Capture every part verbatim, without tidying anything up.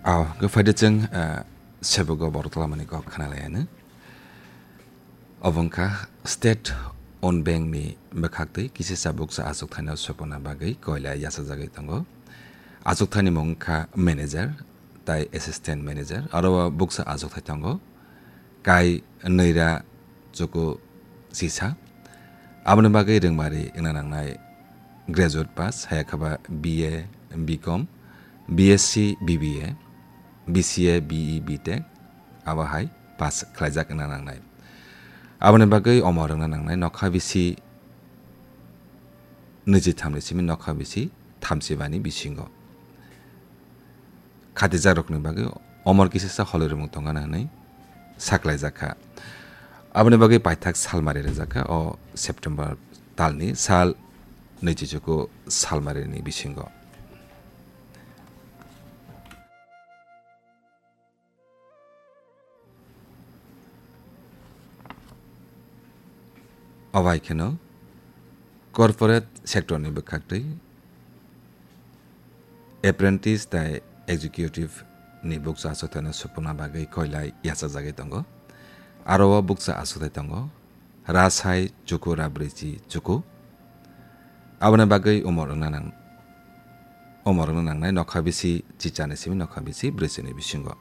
Aw, gw phaidi chwng, ah, sebugo borok tlamani kok khna lai anw. Obo wngkha State Own Bank ni bwkhaktwi kisa bukcha achukthai no supuna bagwi koila yachajagwi tongo. Achukthai ni mung wngkha manager tai assistant manager, aro o bukcha achukthai tongo kai nwira chuku sisa. Aboni bagwi rwngmari wngna nangnai graduate pass, hai khe ba B A, B Com, B S C, B B A, B C A, B E, B Tech, abo hai pass khlaijak wngna nangnai. Aboni bagwi omo rwngna nangnai nokha bisi nwichitham ni simi nokha bisi thamsibani bisingo. Khatijakrokni bagwi omor kisisa holirwmung tongana hwnwi saklaijak kha. Aboni bagwi paithak salmari rwjak kha o September talni sal nwichichuku salmarini bisingo. Obo hai kheno corporate sector ni bwkhaktwi apprentice tai executive ni bukcha achukthai no supuna bagwi koilai yachajagwi tongo. Aro o bukcha achukthai tongo Rasai chuku Rabrichi chuku. Aboni bagwi umor wngna nang-, umor wngna nangnai nokha bisi chichani simi nokha bisi brwichini bisingo.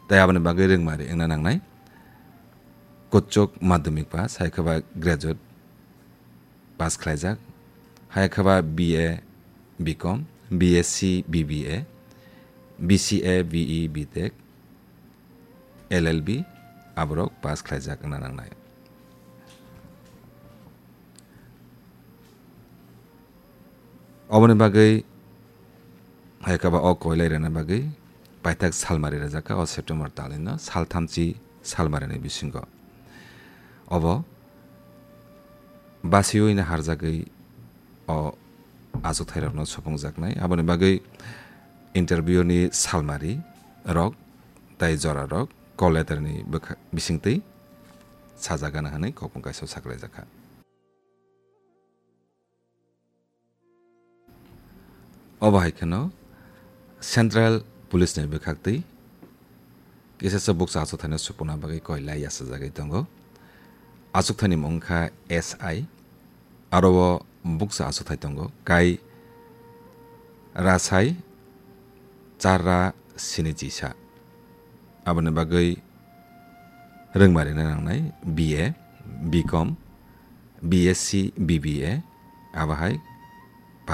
Tai aboni bagwi rwngmari wngna nangnai kuchuk madhyamik pass, hai khe ba graduate pass khlaijak, hai khe ba B A, B Com, B S C, B B A, B C A, B E, B Tech, L L B, aborok pass khlaijak wngna nangnai. Oboni bagwi hai khe ba o koilai rwna bagwi paithak salmari rwjak kha o September talni no salthamchi salmarini bisingo. Obo basiwi no harjagwi o achukthairokno supungjaknai. Aboni bagwi interview ni salmari rok tai jora rok call letter ni bwkha-, bisingtwi sajagana hwnwi kokmung kaisa saklaijak kha. Obo hai kheno Central Police ni bwkhaktwi kisa bukcha achukthai no supuna bagwi koilai yachajagwi tongo. Achukthai ni mung wngkha S I, aro o bukcha achukthai tongo kai Rasai Chara Sinichisa. Aboni bagwi rwngmari nangnai B A, B Com, B S C, B B A, abo hai